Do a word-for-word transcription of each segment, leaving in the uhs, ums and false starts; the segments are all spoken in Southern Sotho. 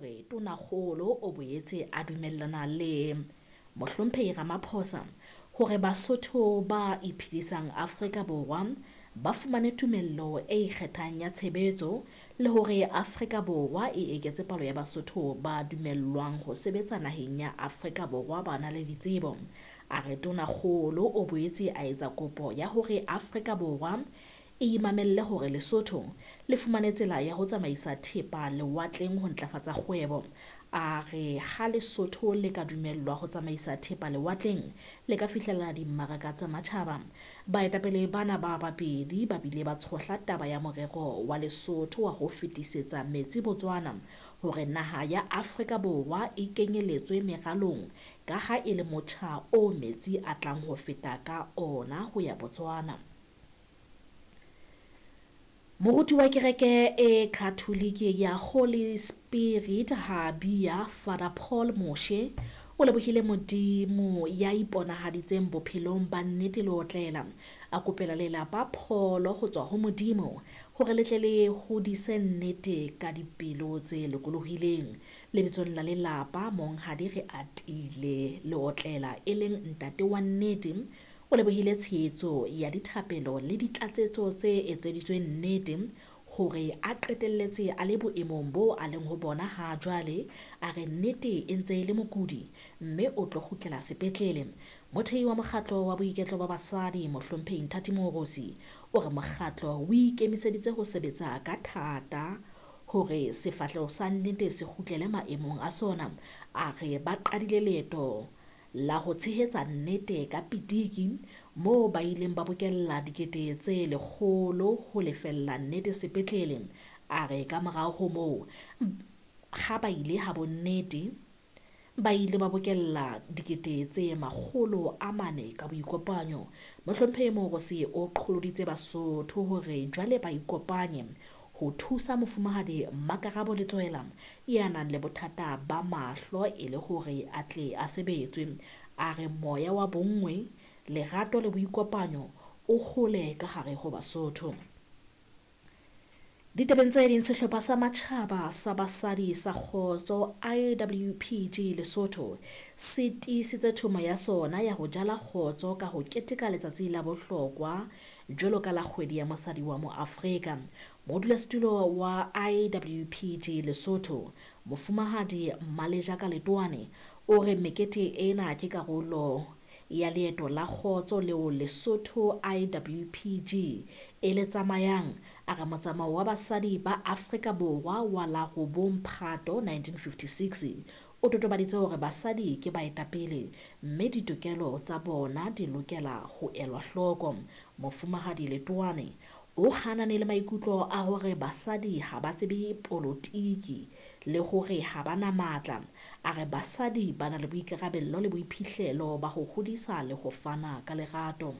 Re Tonakgolo o boetse a dumellana le Mohlomphehi Ramaphosa hore Basotho ba iphedisang Afrika Borwa ba fumane tumello e ikgethang ya tshebetso le hore Afrika Borwa e eketse palo ya Basotho ba dumellwang ho sebetsa naheng ya Afrika Borwa ba na le ditsebo. A re Tonakgolo o boetse a etsa kopo ya hore Afrika Borwa e imamelle hore Lesotho le fumane tsela ya ho tsamaisa thepa lewatleng ho ntlafatsa kgwebo. A re ha Lesotho le ka dumellwa ho tsamaisa thepa lewatleng le ka fihlella dimmaraka tsa matjhaba. Baetapele bana ba babedi ba bile ba tshohla taba ya morero wa Lesotho wa ho fetisetsa metsi Botswana hore naha ya Afrika Borwa e kenyeletswe meralong ka ha e le motjha o metsi a tlang ho feta ka ona ho ya Botswana. Moruti wa kereke e Katholike ya Holy Spirit ha Bia Father Paul Moshe o lebohile Modimo ya iponahaditseng bophelong ba nnete le otlela. A kopela lelapa pholo ho tswa ho Modimo hore le tle le hodise nnete ka dipelo tse lokolohileng. Lebitsong la lelapa Monghadi re atile le otlela e leng ntate wa nnete o lebohile tshehetso ya dithapelo le ditlatsetso tse etseditsweng nnete hore a qetelletse a le boemong bo a leng ho bona ha jwale. A re nnete e ntse e le mokudi mme o tlo kgutlela sepetlele. Mothehi wa mokgatlo wa boiketlo ba basadi Mohlomphehi Nthati Moorosi o re mokgatlo o ikemiseditse ho sebetsa ka thata hore sefahleho sa nnete se kgutlele maemong a sona. A re ba qadile leeto la ho tshehetsa nnete ka pitiki moo ba ileng ba bokella dikete tse lekgolo ho lefella nnete sepetlele. A re ka morao ho moo ha ba ile ha bonnete ba ile ba bokella dikete tse makgolo a mane ka boikopanyo. Mohlomphehi Moorosi o qholoditse Basotho hore jwale ba ikopanye ho thusa mofumahadi Mmakarabo Letsoela ya nang le bothata ba mahlo e le hore a tle a sebetswe. A re moya wa bonngwe, lerato le boikopanyo o hole ka hare ho Basotho. Ditabeng tse ding, sehlopha sa matjhaba sa basadi sa kgotso I W P G Lesotho se tiisitse thomo ya sona ya ho jala kgotso ka ho keteka letsatsi la bohlokwa jwalo ka la kgwedi ya mosadi wa moAfrika. Modulasetulo wa I W P G Lesotho Mofumahadi Mmalejaka Letoane o re mekete ena ke karolo ya leeto la kgotso leo Lesotho I W P G e le tsamayang. A re motsamao wa basadi ba Afrika Borwa wa la robong Phato nineteen fifty-six o totobaditse hore basadi ke baetapele mme ditokelo tsa bona di lokela ho elwa hloko. Mofumahadi Letoane o hanane le maikutlo a hore basadi ha ba tsebe polotiki le hore ha ba na matla. A re basadi ba na le boikarabello le boiphihlelo ba ho hodisa le ho fana ka lerato.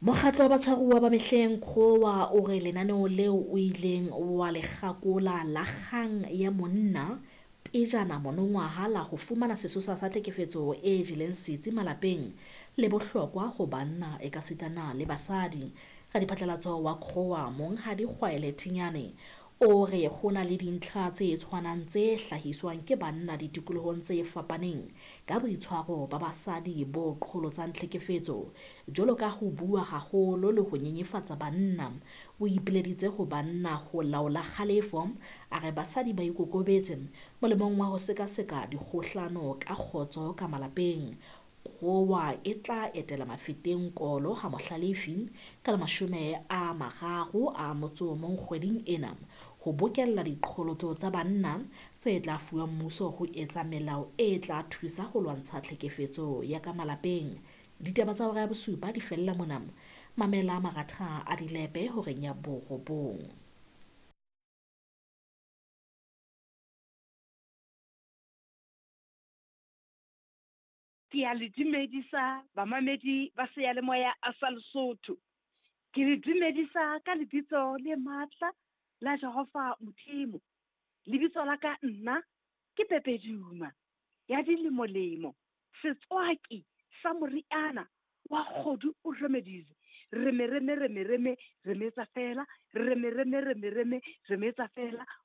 Mokgatlo wa batshwaruwa ba mehleng Khowa o re lenaneo leo o ileng wa le kgakola la kgang ya monna pejana monongwaha la ho fumana sesosa sa tlhekefetso e jeleng setsi malapeng le bohlokwa ho banna ekasitana le basadi. Radiphatlalatso wa Khowa Monghadi Kgwaele Thinyane o re ho na le dintlha tse tshwanang tse hlahiswang ke banna ditikolohong tse fapaneng ka boitshwaro ba basadi bo qholotsang tlhekefetso jwalo ka ho bua haholo le ho nyenyefatsa banna. O ipileditse ho banna ho laola kgalefo, a re basadi ba ikokobetse molemong wa ho sekaseka dikgohlano ka kgotso ka malapeng. Khowa e tla etela Mafeteng Kolo ha Mohlalefi ka la mashome a mararo a motso o mong kgweding ena ho bokella diqholotso tsa banna tse tla fuwa mmuso ho etsa melao e tla thusa ho lwantsha tlhekefetso ya ka malapeng. Ditaba tsa hora ya bosupa di fella mona. Mamela maratha a dilepe horeng ya borobong. Ke a le dumedisa bamamedi ba seyalemoya a sa Lesotho. Ke le dumedisa ka lebitso le matla la Jehova Modimo. Lebitso la ka nna ke Pepe Duma ya dilemolemo, setswaki sa moriana wa Kgodu o Remedies. Re me reme reme reme re metsa fela, re me reme reme reme re metsa fela.